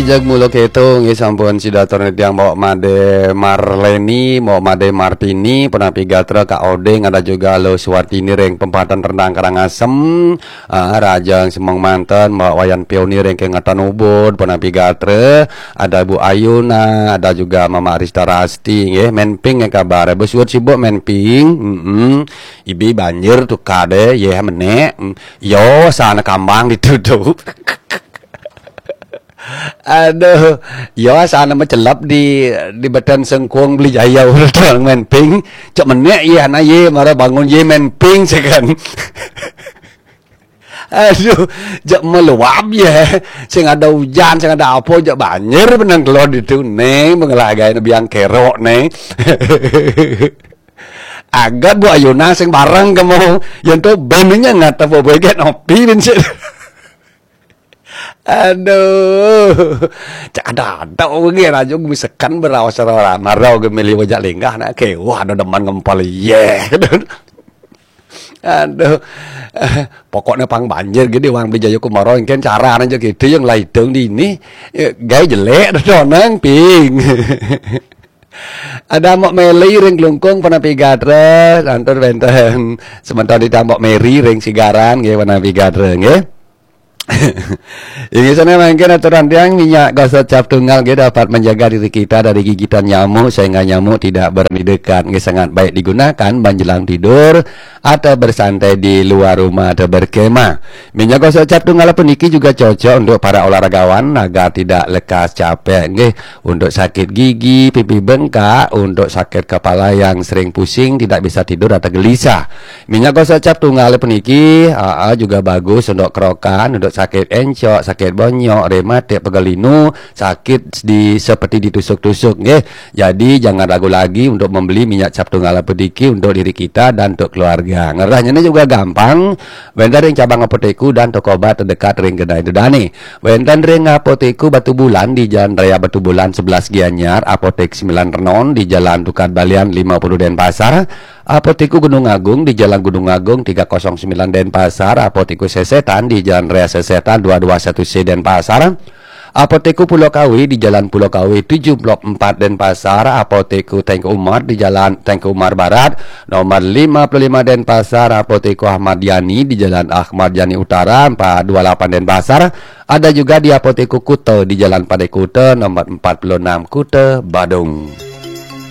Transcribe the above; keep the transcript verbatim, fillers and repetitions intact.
Jagmula kéto nggih, sampun sida atur titiang Mbok Made Marleni, Mbok Made Martini, Penapi Gatra, Kak Oding, ada juga Lo Suwartini ring Pempatan Rendang Karangasem, ah, Rajang Semong Manten, Mbok Wayan Pioni ring Kengetan Ubud, Penapi Gatra, ada Bu Ayuna, ada juga Mama Arista Rasti nggih, men ping nggih kabar. Bos suwut sibuk men ping. Mm-mm. Ibi banjir tuh kade, yeh menek. Mm. Yo, sana kambang dituduh. Aduh, yo sana macelep di di beten sengkung beli jaya urut orang men ping. Cek menek ye ana ye mara bangun ye men ping sekan. Aduh, jak meluap ye. Sing ada hujan, sing ada apa, jak banjir benang keluar ditu neng, mengelagai biang kerok neng. Agat Bu Ayuna sing bareng kamu. Yang tu bennya ngata apa boy get nopi ben sih. Aduh. Cak ada ada orang rajuk misalkan berawas marau gemili wajak linggah nak ke wah ada deman ngempal ye. Aduh. Eh, pokoknya pang banjir gede wang beli jayu kumaro engken cara aja gitu yang laidung di ini. Eh, gaya jelek ada donang ping. Ada Mok Meli ring Klungkung Penapi Gatra, lantur wenten sementara di Tambok Meri ring Sigaran nggih Penapi Gatra nggih. Inggih sana mangkin aturan tiang minyak gosok cap tunggal nggih dapat menjaga diri kita dari gigitan nyamuk sehingga nyamuk tidak berani dekat nggih sangat baik digunakan menjelang tidur atau bersantai di luar rumah atau berkemah. Minyak gosok cap tunggal puniki juga cocok untuk para olahragawan agar tidak lekas capek nggih. Untuk sakit gigi, pipi bengkak, untuk sakit kepala yang sering pusing, tidak bisa tidur atau gelisah. Minyak gosok cap tunggal puniki aa, juga bagus untuk kerokan, untuk sakit encok, sakit bonyok, rematik, pegal linu, sakit di seperti ditusuk-tusuk nggih. Jadi jangan ragu lagi untuk membeli minyak cap tunggal puniki untuk diri kita dan untuk keluarga. Ngerahnye juga gampang. Wenten ring cabang apotek dan toko obat terdekat ring kedai dedane. Wenten ring Apotek Batubulan di Jalan Raya Batubulan sebelas Gianyar, Apotek Sembilan Renon di Jalan Tukad Balian lima puluh Denpasar, Apotek Gunung Agung di Jalan Gunung Agung tiga kosong sembilan Denpasar, Apotek Sesetan di Jalan Raya Sesetan dua dua satu C Denpasar, Apotek Pulau Kawi di Jalan Pulau Kawi tujuh blok empat Denpasar, Apotek Tengku Umar di Jalan Tengku Umar Barat nomor lima puluh lima Denpasar, Apotek Ahmad Yani di Jalan Ahmad Yani Utara empat dua lapan Denpasar, ada juga di Apotek Kuta di Jalan Padai Kuta nomor empat puluh enam Kuta, Badung.